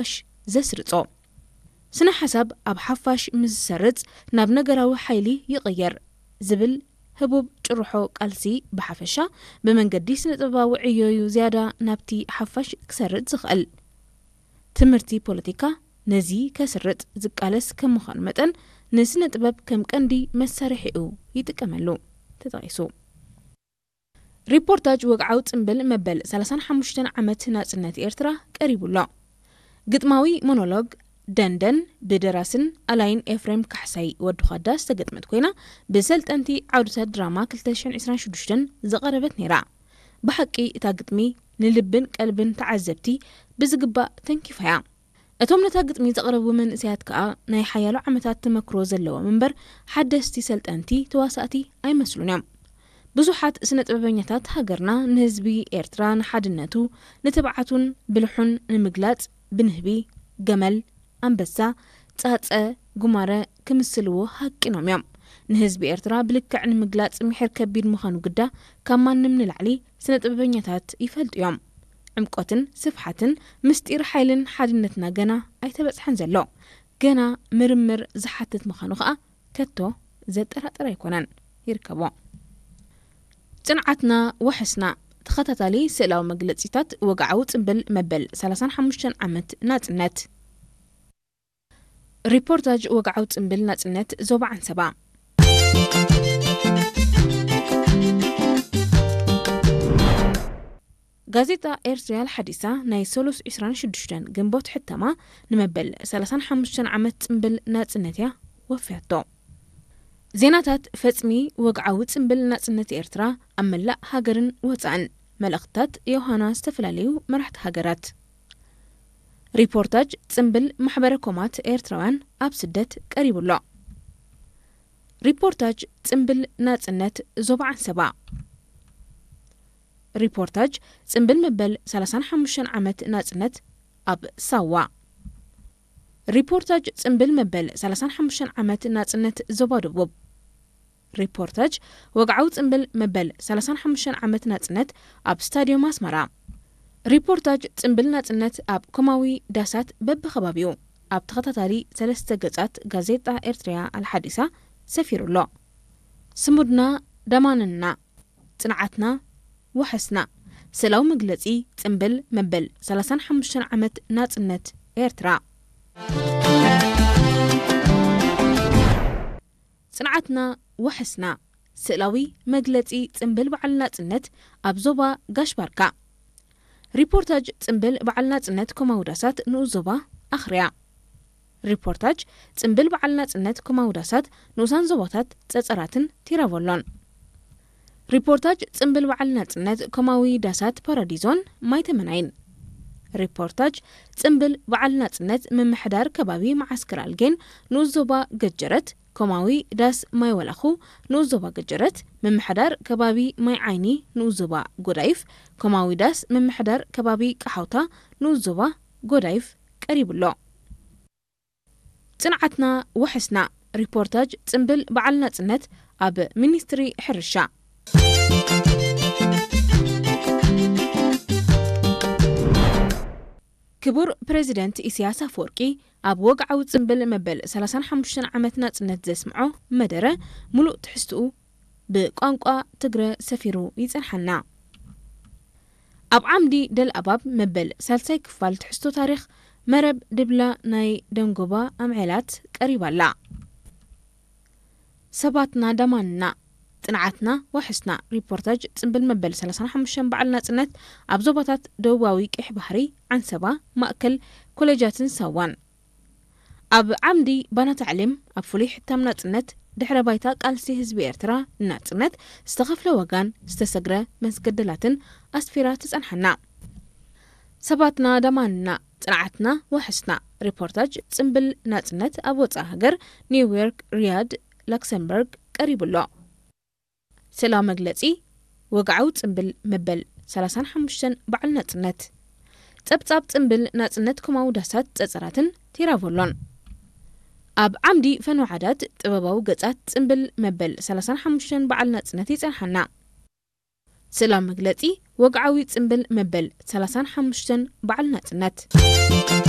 ሓፋሽ ዘስርጾ። ስነ ሓሳብ ኣብ ሓፋሽ ምስ ዝሰርጽ ናብ ነገራዊ ሓይሊ ይቕየር ዝብል ህቡብ ጭርሖ ቃልሲ ብሓፈሻ ብመንገዲ ስነ ጥበባዊ ዕዮ እዩ ዝያዳ ናብቲ ሓፋሽ ክሰርጽ ዝኽእል። ትምህርቲ ፖለቲካ ነዚ ከስርጥ ዝቃለስ ከም ምዃኑ መጠን ንስነ ጥበብ ከም ቀንዲ መሳርሒኡ ይጥቀመሉ። ተጠቒሱ። ሪፖርታጅ ወግዓዊ ጽምብል መበል ሰላሳን ሓሙሽተን ዓመት ናጽነት ኤርትራ ቀሪቡ ኣሎ። ግጥማዊ ሞኖሎግ ደንደን ብደራስን ኣላይን ኤፍሬም ካሕሳይ ወዲ ዃዳ ዝተገጥመት ኮይና፣ ብሰልጠንቲ ዓውድታት ድራማ ክልተ ሽሕን ዕስራን ሽዱሽተን ዝቐረበት ነይራ። ብሓቂ እታ ግጥሚ ንልብን ቀልብን ተዓዘብቲ ብዝግባእ ተንኪፋ እያ። እቶም ነታ ግጥሚ ዘቕረቡ መንእሰያት ከኣ ናይ ሓያሎ ዓመታት ተመክሮ ዘለዎም እምበር ሓደስቲ ሰልጠንቲ ተዋሳእቲ ኣይመስሉን እዮም። ብዙሓት ስነ ጥበበኛታት ሃገርና ንህዝቢ ኤርትራ ንሓድነቱ፣ ንትብዓቱን ብልሑን ንምግላጽ ብንህቢ፣ ገመል፣ ኣንበሳ፣ ጻጸ፣ ጉማረ ክምስልዎ ሃቂኖም እዮም። ንህዝቢ ኤርትራ ብልክዕ ንምግላጽ ምሒር ከቢድ ምዃኑ ግዳ ካብ ማንም ንላዕሊ ስነ ጥበበኛታት ይፈልጡ እዮም። ዕምቆትን ስፍሓትን ምስጢር ሓይልን ሓድነትና ገና ኣይተበጽሐን ዘሎ። ገና ምርምር ዝሓትት ምዃኑ ከኣ ከቶ ዘጠራጥር ኣይኮነን። ይርከቦ። ጽንዓትና ወሐስና ተኸታታሊ ስእላዊ መግለጺታት ወግዓዊ ጽምብል መበል ሰላሳን ሓሙሽተን ዓመት ናጽነት። ሪፖርታጅ ወግዓዊ ጽምብል ናጽነት ዞባ ዓንሰባ። ጋዜጣ ኤርትርያ ሓዲሳ ናይ ሰሉስ ዕስራን ሽዱሽተን ግንቦት ሕታማ ንመበል ሰላሳን ሓሙሽተን ዓመት ጽምብል ናጽነት እያ ወፍያቶ። ዜናታት ፈጽሚ ወግዓዊ ጽምብል ናጽነት ኤርትራ ኣብ መላእ ሃገርን ወጻእን። መልእኽትታት ዮሃና ዝተፈላለዩ መራሕቲ ሃገራት። ሪፖርታጅ ጽምብል ማሕበረ ኮማት ኤርትራውያን ኣብ ስደት ቀሪቡ ኣሎ። ሪፖርታጅ ጽምብል ናጽነት ዞባ ዓንሰባ። ሪፖርታጅ ጽምብል መበል ሰላሳን ሓሙሽተን ዓመት ናጽነት ኣብ ሳዋ። ሪፖርታጅ ጽምብል መበል ሰላሳን ሓሙሽተን ዓመት ናጽነት ዞባ ደቡብ። ሪፖርታጅ ወግዓዊ ጽምብል መበል ሰላሳን ሓሙሽተን ዓመት ናጽነት ኣብ ስታድዮም ኣስመራ። ሪፖርታጅ ጽምብል ናጽነት ኣብ ኮማዊ ዳሳት በብኸባቢኡ ኣብ ተኸታታሊ ሰለስተ ገጻት ጋዜጣ ኤርትርያ ኣልሓዲሳ ሰፊሩ ኣሎ። ስሙድና ደማንና፣ ጽንዓትና ወሐስና። ስእላዊ መግለጺ ጽምብል መበል ሰላሳን ሓሙሽተን ዓመት ናጽነት ኤርትራ። ጽንዓትና ወሐስና። ስእላዊ መግለጺ ጽምብል በዓል ናጽነት ኣብ ዞባ ጋሽ ባርካ። ሪፖርታጅ ጽምብል በዓል ናጽነት ኮማዊ ዳሳት ንኡስ ዞባ ኣኽርያ። ሪፖርታጅ ጽምብል በዓል ናጽነት ኮማዊ ዳሳት ንኡሳን ዞባታት ጸጸራትን ቲራቮሎን። ሪፖርታጅ ጽምብል በዓል ናጽነት ኮማዊ ዳሳት ፓራዲዞን ማይ ተመናይን። ሪፖርታጅ ጽምብል በዓል ናጽነት ምምሕዳር ከባቢ መዓስከር ኣልጌን ንኡስ ዞባ ገጀረት ኮማዊ ዳስ ማይ ወላኹ ንኡስ ዞባ ገጀረት፣ ምምሕዳር ከባቢ ማይ ዓይኒ ንኡስ ዞባ ጎዳይፍ፣ ኮማዊ ዳስ ምምሕዳር ከባቢ ቀሓውታ ንኡስ ዞባ ጎዳይፍ ቀሪቡ ኣሎ። ጽንዓትና ወሐስና። ሪፖርታጅ ጽምብል በዓል ናጽነት ኣብ ሚኒስትሪ ሕርሻ። ክቡር ፕሬዚደንት ኢሳያስ ኣፈወርቂ ኣብ ወግዓዊ ጽምብል መበል ሰላሳን ሓሙሽተን ዓመት ናጽነት ዘስምዖ መደረ፣ ሙሉእ ትሕዝትኡ ብቋንቋ ትግረ ሰፊሩ ይጸንሓና። ኣብ ዓምዲ ደልኣባብ መበል ሳልሳይ ክፋል ትሕዝቶ ታሪኽ መረብ ድብላ ናይ ደንጎባ ኣምዔላት ቀሪባ ኣላ። ሰባትና ደማንና፣ ጽንዓትና ዋሕስና። ሪፖርታጅ ጽምብል መበል ሰላሳን ሓሙሽተን በዓል ናጽነት ኣብ ዞባታት ደቡባዊ ቀይሕ ባሕሪ፣ ዓንሰባ፣ ማእከል፣ ኮለጃትን ሳዋን። ኣብ ዓምዲ ባና ታዕሊም ኣብ ፍሉይ ሕታም ናጽነት ድሕረ ባይታ ቃልሲ ህዝቢ ኤርትራ ንናጽነት ዝተኸፍለ ዋጋን ዝተሰግረ መስገደላትን ኣስፊራ ትጸንሓና። ሰባትና ደማንና፣ ጽንዓትና ዋሕስና። ሪፖርታጅ ጽምብል ናጽነት ኣብ ወጻኢ ሃገር ኒውዮርክ፣ ሪያድ፣ ላክሰምበርግ ቀሪቡ ኣሎ። ስእላዊ መግለጺ ወግዓዊ ጽምብል መበል ሰላሳን ሓሙሽተን በዓል ናጽነት። ጸብጻብ ጽምብል ናጽነት ኮማዊ ዳሳት ጸጸራትን ቴራቮሎን። ኣብ ዓምዲ ፈንዋዓዳት ጥበባዊ ገጻት ጽምብል መበል ሰላሳን ሓሙሽተን በዓል ናጽነት ይጸንሓና። ስእላዊ መግለጺ ወግዓዊ ጽምብል መበል ሰላሳን ሓሙሽተን በዓል ናጽነት።